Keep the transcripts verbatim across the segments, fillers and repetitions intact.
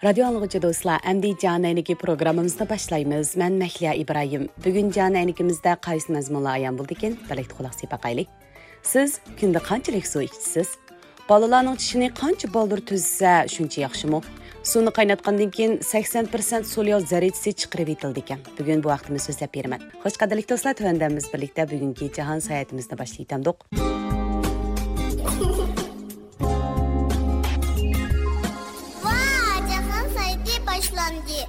رادىيو ئاڭلىغۇچى دوستلار، ئەمدى جان ئەينىكى پروگراممىمىزنى باشلايمىز. مەن مەھلىيا ئىبراھىم. بۈگۈن جان ئەينىكىمىزدە قايسى مەزمۇنلار ئايان بولىدىكىن؟ بىرلىكتە قۇلاق سېلىپ باقايلى. سىز كۈندە قانچىلىك سۇ ئىچىسىز؟ بالىلارنىڭ چىشىنى قانچە بالدۇر تۈزسە، شۇنچە ياخشىمۇ؟ سۇنى قايناتقاندىن كېيىن سەكسەن پىرسەنت سولياۋ زەررىچىسى چىقىرىۋېتىلىدىكەن. بۈگۈن بۇ ھەقتە مەن سۆزلەپ بېرىمەن. خوش، قەدىرلىك دوستلار، تۆۋەندە بىز بىرلىكتە بۈگۈنكى جاھان ساياھىتىمىزنى باشلايتتۇق. ۋا، جاھان سايتى باشلاندى.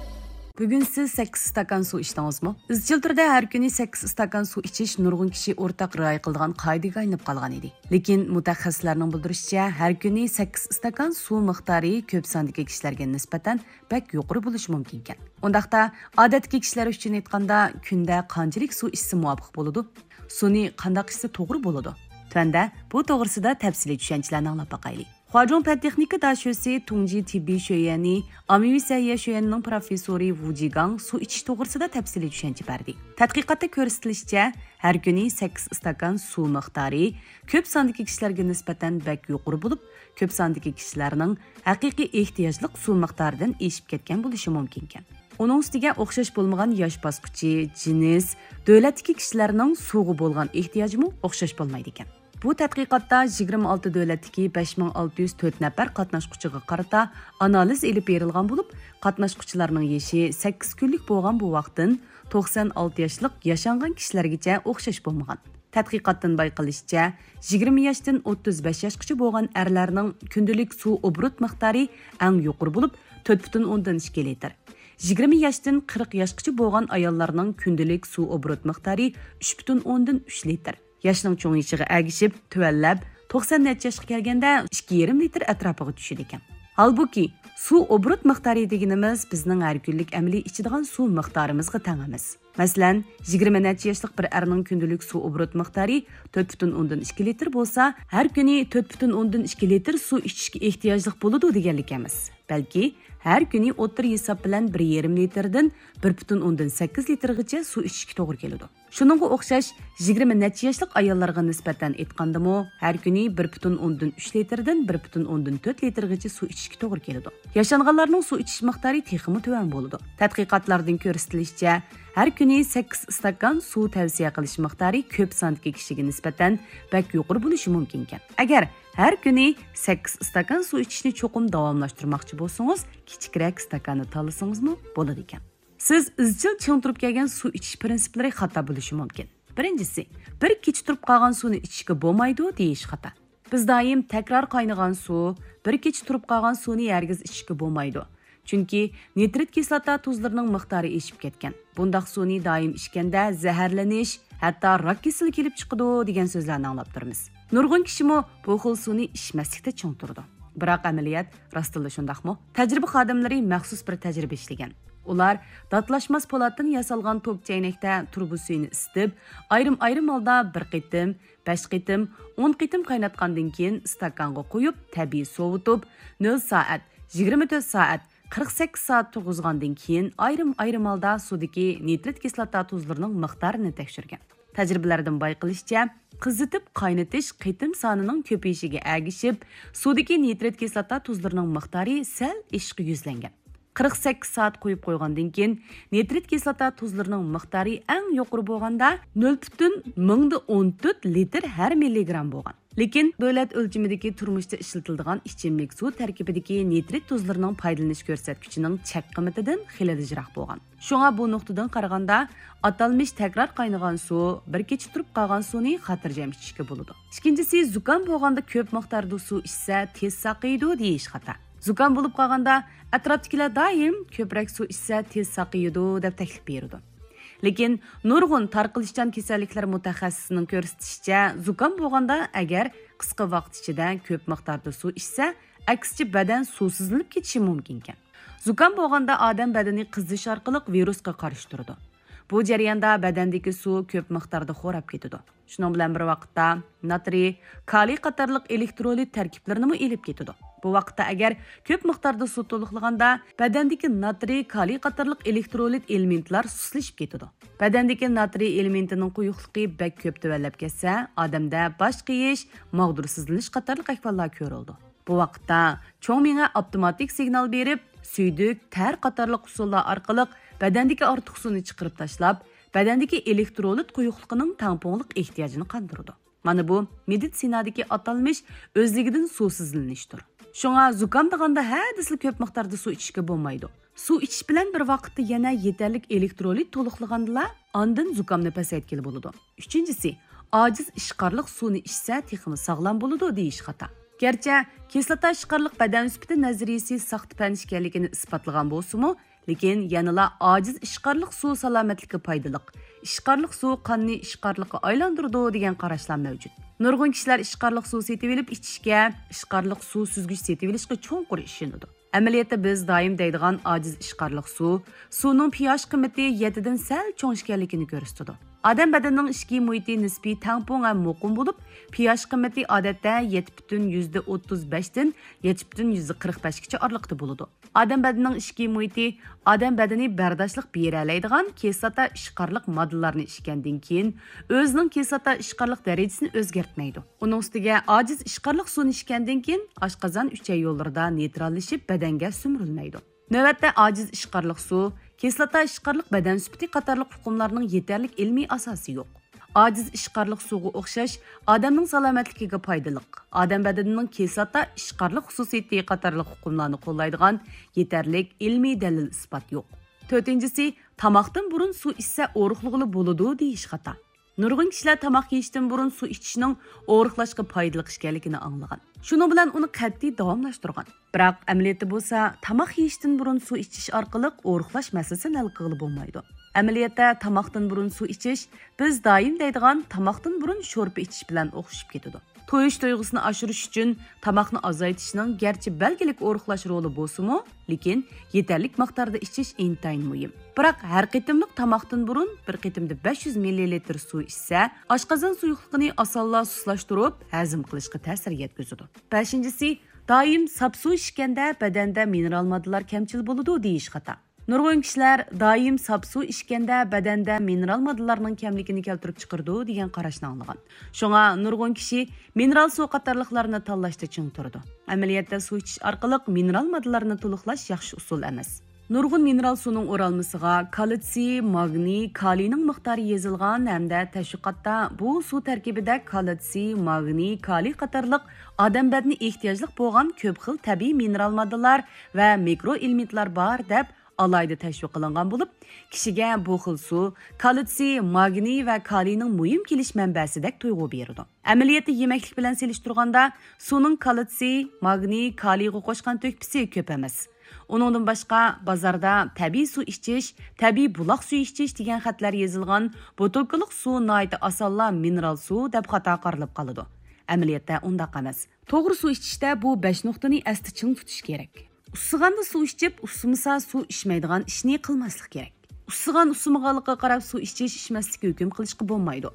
بۈگۈن سىز سەككىز ئىستاكان سۇ ئىچتىڭىزمۇ؟ ئىزچىل تۈردە ھەر كۈنى سەككىز ئىستاكان سۇ ئىچىش نۇرغۇن كىشى ئورتاق رىئايە قىلىدىغان قائىدىگە ئايلىنىپ قالغان ئىدى. لېكىن مۇتەخەسسىسلەرنىڭ بىلدۈرۈشىچە، ھەر كۈنى سەككىز ئىستاكان سۇ مىقدارى كۆپ ساندىكى كىشىلەرگە نىسبەتەن بەك يۇقىرى بولۇشى مۇمكىنكەن. ئۇنداقتا، ئادەتتىكى كىشىلەر ئۈچۈن ئېيتقاندا، كۈندە قانچىلىك سۇ ئىچسە مۇۋاپىق بولىدۇ؟ سۇنى قانداق ئىچسە توغرا بولىدۇ؟ تۆۋەندە بۇ توغرىسىدا تەپسىلىي چۈشەنچىلەرنى ئاڭلاپ باقايلى. خۇاجۇڭ پەن تېخنىكا داشۆسى تۇڭجى تېببىي شۆيۈەنى ئاممىۋى سەھىيە شۆيۈەنىنىڭ پروفېسسورى ۋۇ جىگاڭ سۇ ئىچىش توغرىسىدا تەپسىلىي چۈشەنچە بەردى. تەتقىقاتتا كۆرسىتىلىشىچە، ھەر كۈنى سەككىز ئىستاكان سۇ مىقدارى كۆپ ساندىكى كىشىلەرگە نىسبەتەن بەك يۇقىرى بولۇپ، كۆپ ساندىكى كىشىلەرنىڭ ھەقىقىي ئېھتىياجلىق سۇ مىقدارىدىن ئېشىپ كەتكەن بولۇشى مۇمكىنكەن. ئۇنىڭ ئۈستىگە ئوخشاش بولمىغان ياش باسقۇچى، جىنس، دۆلەتتىكى كىشىلەرنىڭ سۇغا بولغان ئېھتىياجىمۇ ئوخشاش بولمايدىكەن. بۇ تەتقىقاتتا يىگىرمە ئالتە دۆلەتتىكى بەش مىڭ ئالتە يۈز تۆت نەپەر قاتناشقۇچىغا قارىتا ئانالىز ئېلىپ بېرىلغان بولۇپ، قاتناشقۇچىلارنىڭ يېشى سەككىز كۈنلۈك بولغان بوۋاقتىن توقسان ئالتە ياشلىق ياشانغان كىشىلەرگىچە ئوخشاش بولمىغان. تەتقىقاتتىن بايقىلىشىچە، يىگىرمە ياشتىن ئوتتۇز بەش ياشقىچە بولغان ئەرلەرنىڭ كۈندىلىك سۇ ئوبوروت مىقدارى ئەڭ يۇقىرى بولۇپ، تۆت پۈتۈن ئوندىن ئىككى لىتىر. يىگىرمە ياشتىن قىرىق ياشقىچە بولغان ئاياللارنىڭ كۈندىلىك سۇ ئوبوروت مىقدارى ئۈچ پۈتۈن ئوندىن ئۈچ لىتىر. ياشنىڭ چوڭىيىشىغا ئەگىشىپ، تۆۋەنلەپ، توقسان نەچچە ياشقا كەلگەندە ئىككى يېرىم لىتىر ئەتراپىغا چۈشىدىكەن. ھالبۇكى، سۇ ئوبوروت مىقدارى دېگىنىمىز بىزنىڭ ھەر كۈنلۈك ئەمەلىي ئىچىدىغان سۇ مىقدارىمىزغا تەڭ ئەمەس. مەسىلەن، يىگىرمە نەچچە ياشلىق بىر ئەرنىڭ كۈندىلىك سۇ ئوبوروت مىقدارى تۆت پۈتۈن ئوندىن ئىككى لىتىر بولسا، ھەر كۈنى تۆت پۈتۈن ئوندىن ئىككى لىتىر سۇ ئىچىشكە ئېھتىياجلىق بولىدۇ دېگەنلىك ئەمەس. بەلكى، ھەر كۈنى ئوتتۇرا ھېساب بىلەن بىر يېرىم لىتىردىن بىر پۈتۈن ئوندىن سەككىز لىتىرغىچە سۇ ئىچىشكە توغرا كېلىدۇ. شۇنىڭغا ئوخشاش، يىگىرمە نەچچە ياشلىق ئاياللارغا نىسبەتەن ئېيتقاندىمۇ، ھەر كۈنى بىر پۈتۈن ئوندىن ئۈچ لىتىردىن بىر پۈتۈن ئوندىن تۆت لىتىرغىچە سۇ ئىچىشكە توغرا كېلىدۇ. ياشانغانلارنىڭ سۇ ئىچىش مىقدارى تېخىمۇ تۆۋەن بولىدۇ. تەتقىقاتلاردىن كۆرسىتىلىشىچە، ھەر كۈنى سەككىز ئىستاكان سۇ تەۋسىيە قىلىش مىقدارى كۆپ ساندىكى كىشىگە نىسبەتەن بەك يۇقىرى بولۇشى مۇمكىنكەن. ئەگەر ھەر كۈنى سەككىز ئىستاكان سۇ ئىچىشنى چوقۇم داۋاملاشتۇرماقچى بولسىڭىز، كىچىكرەك ئىستاكاننى تاللىسىڭىزمۇ بولىدىكەن. سىز ئىزچىل چىڭ تۇرۇپ كەلگەن سۇ ئىچىش پىرىنسىپلىرى خاتا بولۇشى مۇمكىن. بىرىنچىسى، بىر كېچە تۇرۇپ قالغان سۇنى ئىچىشكە بولمايدۇ دېيىش خاتا. بىز دائىم تەكرار قاينىغان سۇ، بىر كېچە تۇرۇپ قالغان سۇنى ھەرگىز ئىچىشكە بولمايدۇ. چۈنكى نىترىت كىسلاتا تۇزلىرىنىڭ مىقدارى ئېشىپ كەتكەن. بۇنداق سۇنى دائىم ئىچكەندە زەھەرلىنىش، ھەتتا راك كېسىلى كېلىپ چىقىدۇ دېگەن سۆزلەرنى ئاڭلاپ تۇرىمىز. نۇرغۇن كىشىمۇ بۇ خىل سۇنى ئىچمەسلىكتە چىڭ تۇرىدۇ. بىراق ئەمەلىيەت راستتىنلا شۇنداقمۇ؟ تەجرىبە خادىملىرى مەخسۇس بىر تەجرىبە ئىشلىگەن. ئۇلار داتلاشماس پولاتتىن ياسالغان توك چەينەكتە تۇرۇبا سۈيىنى ئىسسىتىپ، ئايرىم-ئايرىم ھالدا بىر قېتىم، بەش قېتىم، ئون قېتىم قايناتقاندىن كېيىن ئىستاكانغا قۇيۇپ، تەبىئىي سوۋۇتۇپ، نۆل سائەت، يىگىرمە تۆت سائەت، قىرىق سەككىز سائەت تۇرغۇزغاندىن كېيىن ئايرىم-ئايرىم ھالدا سۇدىكى نىترىت كىسلاتا تۇزلىرىنىڭ مىقدارىنى تەكشۈرگەن. تەجرىبىلەردىن بايقىلىشىچە، قىزىتىپ قاينىتىش قېتىم سانىنىڭ كۆپىيىشىگە ئەگىشىپ، سۇدىكى نىترىت كىسلاتا تۇزلىرىنىڭ مىقدارى سەل ئېشىشقا يۈزلەنگەن. قىرىق سەككىز سائەت قويۇپ قويغاندىن كېيىن، نىترىت كىسلاتا تۇزلىرىنىڭ مىقدارى ئەڭ يۇقىرى بولغاندا نۆل پۈتۈن مىڭدا ئون تۆت لىتىر ھەر مىللىگرام بولغان. لېكىن دۆلەت ئۆلچىمىدىكى تۇرمۇشتا ئىشلىتىلىدىغان ئىچىملىك سۇ تەركىبىدىكى نىترىت تۇزلىرىنىڭ پايدىلىنىش كۆرسەتكۈچىنىڭ چەك قىممىتىدىن خېلىلا يىراق بولغان. شۇڭا بۇ نۇقتىدىن قارىغاندا، ئاتالمىش تەكرار قاينىغان سۇ بىر كېچە تۇرۇپ قالغان سۇنى خاتىرجەم ئىچىشكە بولىدۇ. ئىككىنچىسى، زۇكام بولغاندا كۆپ مىقداردا سۇ ئىچسە تېز ساقىيىدۇ دېيىش خاتا. زۇكام بولۇپ قالغاندا ئەتراپتىكىلەر دائىم كۆپرەك سۇ ئىچسە تېز ساقىيىدۇ دەپ تەكلىپ بېرىدۇ. لېكىن نۇرغۇن تارقىلىشچان كېسەللىكلەر مۇتەخەسسىسىنىڭ كۆرسىتىشىچە، زۇكام بولغاندا ئەگەر قىسقا ۋاقىت ئىچىدە كۆپ مىقداردا سۇ ئىچسە، ئەكسىچە بەدەن سۇسىزلىنىپ كېتىشى مۇمكىنكەن. زۇكام بولغاندا ئادەم بەدىنى قىزىش ئارقىلىق ۋىرۇسقا قارشى تۇرىدۇ. بۇ جەرياندا بەدەندىكى سۇ كۆپ مىقداردا خوراپ كېتىدۇ. شۇنىڭ بىلەن بىر ۋاقىتتا ناترىي، كالىي قاتارلىق ئېلېكترولىت تەركىبلىرىنىمۇ ئېلىپ كېتىدۇ. بۇ ۋاقىتتا ئەگەر كۆپ مىقداردا سۇ تولۇقلىغاندا، بەدەندىكى ناترىي، كالىي قاتارلىق ئېلېكترولىت ئېلېمېنتلار سۇسلىشىپ كېتىدۇ. بەدەندىكى ناترىي ئېلېمېنتىنىڭ قويۇقلۇقى بەك كۆپ تۆۋەنلەپ كەتسە، ئادەمدە باش قېيىش، ماغدۇرسىزلىنىش قاتارلىق ئەھۋاللار كۆرۈلىدۇ. بۇ ۋاقىتتا چوڭ مېڭە ئاپتوماتىك سىگنال بېرىپ، سۈيدۈك، تەر قاتارلىق ئۇسۇللار ئارقىلىق بەدەندىكى ئارتۇق سۇنى چىقىرىپ تاشلاپ، بەدەندىكى ئېلېكترولىت قويۇقلۇقىنىڭ تەڭپۇڭلۇق ئېھتىياجىنى قاندۇرىدۇ. مانا بۇ مېدىتسىنادىكى ئاتالمىش ئۆزلۈكىدىن سۇسىزلىنىشتۇر. شۇڭا زۇكامدىغاندا ھە دېسىلا كۆپ مىقداردا سۇ ئىچىشكە بولمايدۇ. سۇ ئىچىش بىلەن بىر ۋاقىتتا يەنە يېتەرلىك ئېلېكترولىت تولۇقلىغاندىلا، ئاندىن زۇكامنى پەسەيتكىلى بولىدۇ. ئۈچىنچىسى، ئاجىز ئىشقارلىق سۇنى ئىچسە تېخىمۇ ساغلام بولىدۇ دېيىش خاتا. گەرچە كىسلاتا ئىشقارلىق بەدەن سۈپىتى نەزەرىيىسى ساختا پەن ئىكەنلىكىنى ئىسپاتلىغان بولسىمۇ، لېكىن يەنىلا ئاجىز ئىشقارلىق سۇ سالامەتلىككە پايدىلىق، ئىشقارلىق سۇ قاننى ئىشقارلىققا ئايلاندۇرىدۇ دېگەن قاراشلار مەۋجۇت. نۇرغۇن كىشىلەر ئىشقارلىق سۇ سېتىۋېلىپ ئىچىشكە، ئىشقارلىق سۇ سۈزگۈچ سېتىۋېلىشقا چوڭقۇر ئىشىنىدۇ. ئەمەلىيەتتە بىز دائىم دەيدىغان ئاجىز ئىشقارلىق سۇ، سۇنىڭ پىياش قىممىتى يەتتىدىن سەل چوڭ ئىكەنلىكىنى كۆرسىتىدۇ. ئادەم بەدىنىنىڭ ئىچكى مۇھىتى نىسپىي تەڭپۇڭ ھەم مۇقىم بولۇپ، پىياش قىممىتى ئادەتتە يەتتە پۈتۈن يۈزدە ئوتتۇز بەشتىن يەتتە پۈتۈن يۈزدە قىرىق بەشكىچە ئارىلىقتا بولىدۇ. ئادەم بەدىنىنىڭ ئىچكى مۇھىتى ئادەم بەدىنى بەرداشلىق بېرەلەيدىغان كىسلاتا ئىشقارلىق ماددىلارنى ئىچكەندىن كېيىن، ئۆزىنىڭ كىسلاتا ئىشقارلىق دەرىجىسىنى ئۆزگەرتمەيدۇ. ئۇنىڭ ئۈستىگە ئاجىز ئىشقارلىق سۇنى ئىچكەندىن كېيىن، ئاشقازان ئۈچەي يوللىرىدا نېيتراللىشىپ، بەدەنگە سۈمۈرۈلمەيدۇ. نۆۋەتتە ئاجىز ئىشقارلىق سۇ، كىسلاتا ئىشقارلىق بەدەن سۈپىتى قاتارلىق ئۇقۇملارنىڭ يېتەرلىك ئىلمىي ئاساسى يوق. ئاجىز ئىشقارلىق سۇغا ئوخشاش ئادەمنىڭ سالامەتلىكىگە پايدىلىق، ئادەم بەدىنىنىڭ كىسلاتا ئىشقارلىق خۇسۇسىيىتى قاتارلىق ئۇقۇملارنى قوللايدىغان يېتەرلىك ئىلمىي دەلىل ئىسپات يوق. تۆتىنچىسى، تاماقتىن بۇرۇن سۇ ئىچسە ئورۇقلىغىلى بولىدۇ دېيىش خاتا. نۇرغۇن كىشىلەر تاماق يېيىشتىن بۇرۇن سۇ ئىچىشنىڭ ئورۇقلاشقا پايدىلىق ئىكەنلىكىنى ئاڭلىغان. شۇنىڭ بىلەن ئۇنى قەتئىي داۋاملاشتۇرغان. بىراق ئەمەلىيەتتە بولسا، تاماق يېيىشتىن بۇرۇن سۇ ئىچىش ئارقىلىق ئورۇقلاش مەسىلىسىنى ھەل قىلغىلى بولمايدۇ. ئەمەلىيەتتە تاماقتىن بۇرۇن سۇ ئىچىش بىز دائىم دەيدىغان تاماقتىن بۇرۇن شورپا ئىچىش بىلەن ئوخشىشىپ كېتىدۇ. تويۇش تۇيغۇسىنى ئاشۇرۇش ئۈچۈن تاماقنى ئازايتىشنىڭ گەرچە بەلگىلىك ئورۇقلاش رولى بولسىمۇ، لېكىن يېتەرلىك مىقداردا ئىچىش ئىنتايىن مۇھىم. بىراق ھەر قېتىملىق تاماقتىن بۇرۇن بىر قېتىمدا بەش يۈز مىللىلىتىر سۇ ئىچسە، ئاشقازان سۇيۇقلۇقىنى ئاسانلا سۇسلاشتۇرۇپ، ھەزىم قىلىشقا تەسىر يەتكۈزىدۇ. بەشىنچىسى، دائىم ساپ سۇ ئىچكەندە بەدەندە مىنېرال ماددىلار كەمچىل بولىدۇ دېيىش خاتا. نۇرغۇن كىشىلەر دائىم ساپ سۇ ئىچكەندە بەدەندە مىنېرال ماددىلارنىڭ كەملىكىنى كەلتۈرۈپ چىقىرىدۇ دېگەن قاراشنى ئاڭلىغان. شۇڭا نۇرغۇن كىشى مىنېرال سۇ قاتارلىقلارنى تاللاشتا چىڭ تۇرىدۇ. ئەمەلىيەتتە سۇ ئىچىش ئارقىلىق مىنېرال ماددىلارنى تولۇقلاش ياخشى ئۇسۇل ئەمەس. نۇرغۇن مىنېرال سۇنىڭ ئورالمىسىغا كالتسىي، ماگنىي، كالىينىڭ مىقدارى يېزىلغان ھەمدە تەشۋىقاتتا بۇ سۇ تەركىبىدە كالتسىي، ماگنىي، كالىي قاتارلىق ئادەم بەدىنى ئېھتىياجلىق بولغان كۆپ خىل تەبىئىي مىنېرال ماددىلار ۋە مىكرو ئېلېمېنتلار بار دەپ ئالاھىدە تەشۋىق قىلىنغان بولۇپ، كىشىگە بۇ خىل سۇ كالتسىي، ماگنىي ۋە كالىينىڭ مۇھىم كېلىش مەنبەسىدەك تۇيغۇ بېرىدۇ. ئەمەلىيەتتە يېمەكلىك بىلەن سېلىشتۇرغاندا، سۇنىڭ كالتسىي، ماگنىي، كالىيغا قوشقان تۆھپىسى كۆپ ئەمەس. ئۇنىڭدىن باشقا، بازاردا تەبىئىي سۇ ئىچىش، تەبىئىي بۇلاق سۈيى ئىچىش دېگەن خەتلەر يېزىلغان بوتۇلكىلىق سۇ ناھايىتى ئاسانلا مىنېرال سۇ دەپ خاتا قارىلىپ قالىدۇ. ئەمەلىيەتتە ئۇنداق ئەمەس. توغرا سۇ ئىچىشتە بۇ بەش نۇقتىنى ئەستە چىڭ تۇتۇش كېرەك. ئۇسسىغاندا سۇ ئىچىپ، ئۇسسىمىسا سۇ ئىچمەيدىغان ئىشنى قىلماسلىق كېرەك. ئۇسسىغان ئۇسسىمىغانلىقىغا قاراپ سۇ ئىچىش، ئىچمەسلىككە ھۆكۈم قىلىشقا بولمايدۇ.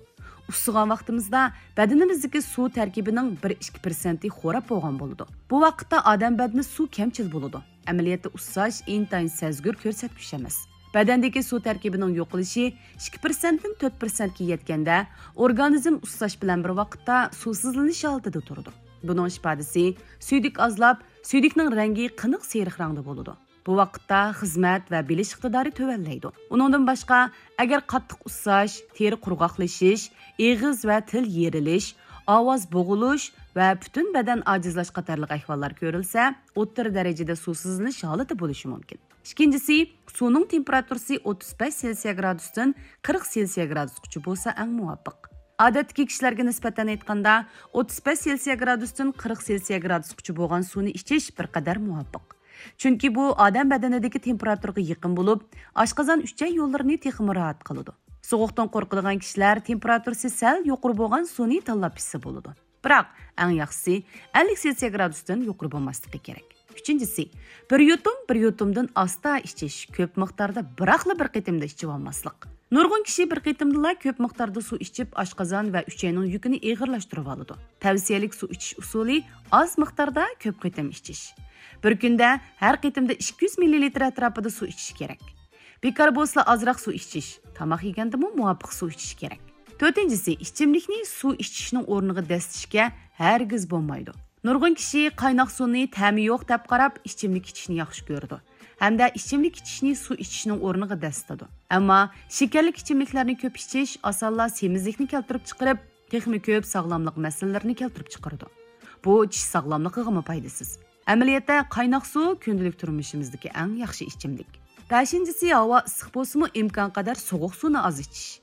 ئۇسسىغان ۋاقتىمىزدا بەدىنىمىزدىكى سۇ تەركىبىنىڭ بىر ئىككى پىرسەنتى خوراپ بولغان بولىدۇ. بۇ ۋاقىتتا ئادەم بەدىنى سۇ كەمچىل بولىدۇ. ئەمەلىيەتتە ئۇسساش ئىنتايىن سەزگۈر كۆرسەتكۈچ ئەمەس. بەدەندىكى سۇ تەركىبىنىڭ يوقىلىشى ئىككى پىرسەنتتىن تۆت پىرسەنتكە يەتكەندە، ئورگانىزم ئۇسساش بىلەن بىر ۋاقىتتا سۇسىزلىنىش ھالىتىدە تۇرىدۇ. بۇنىڭ ئىپادىسى، سۈيدۈك ئازلاپ، سۈيدۈكنىڭ رەڭگى قېنىق سېرىق رەڭدە بولىدۇ. بۇ ۋاقىتتا خىزمەت ۋە بىلىش ئىقتىدارى تۆۋەنلەيدۇ. ئۇنىڭدىن باشقا، ئەگەر قاتتىق ئۇسساش، تېرە قۇرغاقلىشىش، ئېغىز ۋە تىل يېرىلىش، ئاۋاز بوغۇلۇش ۋە پۈتۈن بەدەن ئاجىزلاش قاتارلىق ئەھۋاللار كۆرۈلسە، ئوتتۇرا دەرىجىدە سۇسىزلىنىش ھالىتى بولۇشى مۇمكىن. ئىككىنچىسى، سۇنىڭ تېمپېراتۇرىسى ئوتتۇز بەش سېلسىيە گرادۇستىن قىرىق سېلسىيە گرادۇسقىچە بولسا ئەڭ مۇۋاپىق. ئادەتتىكى كىشىلەرگە نىسبەتەن ئېيتقاندا، ئوتتۇز بەش سېلسىيە گرادۇستىن قىرىق سېلسىيە گرادۇسقىچە بولغان سۇنى ئىچىش بىر قەدەر مۇۋاپىق. چۈنكى بۇ ئادەم بەدىنىدىكى تېمپېراتۇرىغا يېقىن بولۇپ، ئاشقازان ئۈچەي يوللىرىنى تېخىمۇ راھەت قىلىدۇ. سوغۇقتىن قورقىدىغان كىشىلەر تېمپېراتۇرىسى سەل يۇقىرى بولغان سۇنى تاللاپ ئىچسە بولىدۇ. بىراق، ئەڭ ياخشىسى ئەللىك سېلسىيە گرادۇستىن يۇقىرى بولماسلىقى كېرەك. ئۈچىنچىسى، بىر يۇتۇم بىر يۇتۇمدىن ئاستا ئىچىش، كۆپ مىقداردا بىراقلا بىر قېتىمدا ئىچىۋالماسلىق. نۇرغۇن كىشى بىر قېتىمدىلا كۆپ مىقداردا سۇ ئىچىپ، ئاشقازان ۋە ئۈچەينىڭ يۈكىنى ئېغىرلاشتۇرۇۋالىدۇ. تەۋسىيەلىك سۇ ئىچىش ئۇسۇلى ئاز مىقداردا كۆپ قېتىم ئىچىش. بىر كۈندە ھەر قېتىمدا ئىككى يۈز مىللىلىتىر ئەتراپىدا سۇ ئىچىش كېرەك. بىكار بولسىلا ئازراق سۇ ئىچىش، تاماق يېگەندىمۇ مۇۋاپىق سۇ ئىچىش كېرەك. تۆتىنچىسى، ئىچىملىكنى سۇ ئىچىشنىڭ ئورنىغا دەسسىتىشكە ھەرگىز بولمايدۇ. نۇرغۇن كىشى قايناق سۇنى تەمى يوق دەپ قاراپ، ئىچىملىك ئىچىشنى ياخشى كۆرىدۇ ھەمدە ئىچىملىك ئىچىشنى سۇ ئىچىشنىڭ ئورنىغا دەسسىتىدۇ. ئەمما شېكەرلىك ئىچىملىكلەرنى كۆپ ئىچىش ئاسانلا سېمىزلىكنى كەلتۈرۈپ چىقىرىپ، تېخىمۇ كۆپ ساغلاملىق مەسىلىلىرىنى كەلتۈرۈپ چىقىرىدۇ. بۇ چىش ساغلاملىقىغىمۇ پايدىسىز. ئەمەلىيەتتە، قايناق سۇ كۈندىلىك تۇرمۇشىمىزدىكى ئەڭ ياخشى ئىچىملىك. بەشىنچىسى، ھاۋا ئىسسىق بولسىمۇ، ئىمكانقەدەر سوغۇق سۇنى ئاز ئىچىش.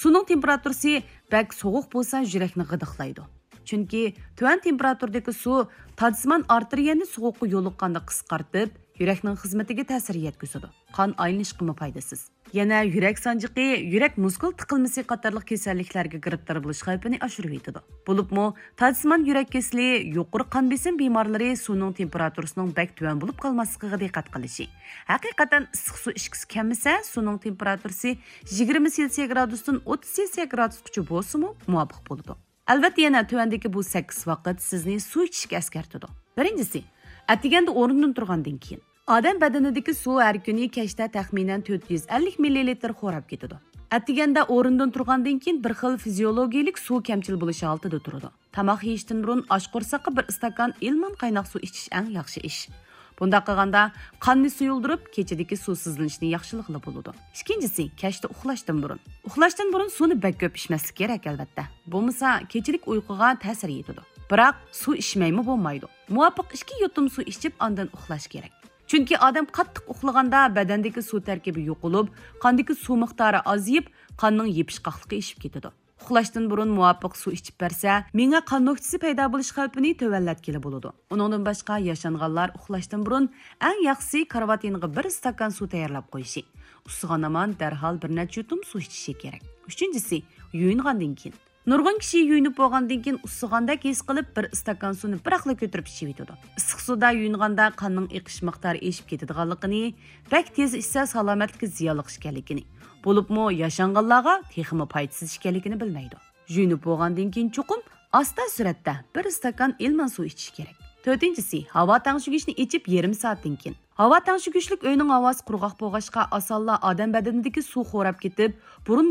سۇنىڭ تېمپېراتۇرىسى بەك سوغۇق بولسا، يۈرەكنى غىدىقلايدۇ. چۈنكى تۆۋەن تېمپېراتۇرىدىكى سۇ تادسىمان ئارتېرىيەنى سوغۇققا يولۇققاندا قىسقارتىپ، يۈرەكنىڭ خىزمىتىگە تەسىر يەتكۈزىدۇ. قان ئايلىنىشقىمۇ پايدىسىز. يەنە يۈرەك سانجىقى، يۈرەك مۇسكۇل تىقىلمىسى قاتارلىق كېسەللىكلەرگە گىرىپتار بولۇش خەۋپىنى ئاشۇرۇۋېتىدۇ. بولۇپمۇ تادسىمان يۈرەك كېسىلى، يۇقىرى قان بېسىم بىمارلىرى سۇنىڭ تېمپېراتۇرىسىنىڭ بەك تۆۋەن بولۇپ قالماسلىقىغا دىققەت قىلىشى. ھەقىقەتەن ئىسسىق سۇ ئىچكۈسى كەلمىسە، سۇنىڭ تېمپېراتۇرىسى يىگىرمە سېلسىيە گرادۇستىن ئوتتۇز سېلسىيە گرادۇسقىچە بولسىمۇ مۇۋاپىق بولىدۇ. ئەلۋەتتە، يەنە تۆۋەندىكى بۇ سەككىز ۋاقىت سىزنى سۇ ئىچىشكە ئەسكەرتىدۇ. بىرىنچىسى، ئەتىگەندە ئورنىدىن تۇرغاندىن كېيىن. ئادەم بەدىنىدىكى سۇ ھەر كۈنى كەچتە تەخمىنەن تۆت يۈز ئەللىك مىللىلىتىر خوراپ كېتىدۇ. ئەتىگەندە ئورنىدىن تۇرغاندىن كېيىن بىر خىل فىزىيولوگىيىلىك سۇ كەمچىل بولۇش ھالىتىدە تۇرىدۇ. تاماق يېيىشتىن بۇرۇن ئاچ قورساققا بىر ئىستاكان ئىلمان قايناق سۇ ئىچىش ئەڭ ياخشى ئىش. بۇنداق قىلغاندا قاننى سۇيۇلدۇرۇپ، كېچىدىكى سۇسىزلىنىشنى ياخشىلىغىلى بولىدۇ. ئىككىنچىسى، كەچتە ئۇخلاشتىن بۇرۇن. ئۇخلاشتىن بۇرۇن سۇنى بەك كۆپ ئىچمەسلىك كېرەك، ئەلۋەتتە. بولمىسا، كېچىلىك ئۇيقۇغا تەسىر يېتىدۇ. بىراق، سۇ ئىچمەيمۇ بولمايدۇ. مۇۋاپىق ئىككى يۇتۇم سۇ ئىچىپ، ئاندىن ئۇخلاش كېرەك. چۈنكى ئادەم قاتتىق ئۇخلىغاندا بەدەندىكى سۇ تەركىبى يوقىلىپ، قاندىكى سۇ مىقدارى ئازىيىپ، قاننىڭ يېپىشقاقلىقى ئېشىپ كېتىدۇ. ئۇخلاشتىن بۇرۇن مۇۋاپىق سۇ ئىچىپ بەرسە، مېڭە قان نۆكچىسى پەيدا بولۇش خەۋپىنى تۆۋەنلەتكىلى بولىدۇ. ئۇنىڭدىن باشقا، ياشانغانلار ئۇخلاشتىن بۇرۇن ئەڭ ياخشىسى كارىۋات يېنىغا بىر ئىستاكان سۇ تەييارلاپ قويۇشى. ئۇسسىغان ھامان دەرھال بىر نەچچە يۇتۇم سۇ ئىچىشى كېرەك. ئۈچىنچىسى، يۇيۇنغاندىن كېيىن. نۇرغۇن كىشى يۇيۇنۇپ بولغاندىن كېيىن ئۇسسىغاندەك ھېس قىلىپ، بىر ئىستاكان سۇنى بىراقلا كۆتۈرۈپ ئىچىۋېتىدۇ. ئىسسىق سۇدا يۇيۇنغاندا قاننىڭ ئېقىش مىقدارى ئېشىپ كېتىدىغانلىقىنى، بەك تېز ئىچسە سالامەتلىككە زىيانلىق ئىكەنلىكىنى، بولۇپمۇ ياشانغانلارغا تېخىمۇ پايدىسىز ئىكەنلىكىنى بىلمەيدۇ. يۇيۇنۇپ بولغاندىن كېيىن چوقۇم ئاستا سۈرئەتتە بىر ئىستاكان ئىلمان سۇ ئىچىش كېرەك. تۆتىنچىسى، ھاۋا تەڭشىگۈچنى ئېچىپ يېرىم سائەتتىن كېيىن. ھاۋا تەڭشىگۈچلۈك ئۆينىڭ ھاۋاسى قۇرغاق بولغاچقا، ئاسانلا ئادەم بەدىنىدىكى سۇ خوراپ كېتىپ، بۇرۇن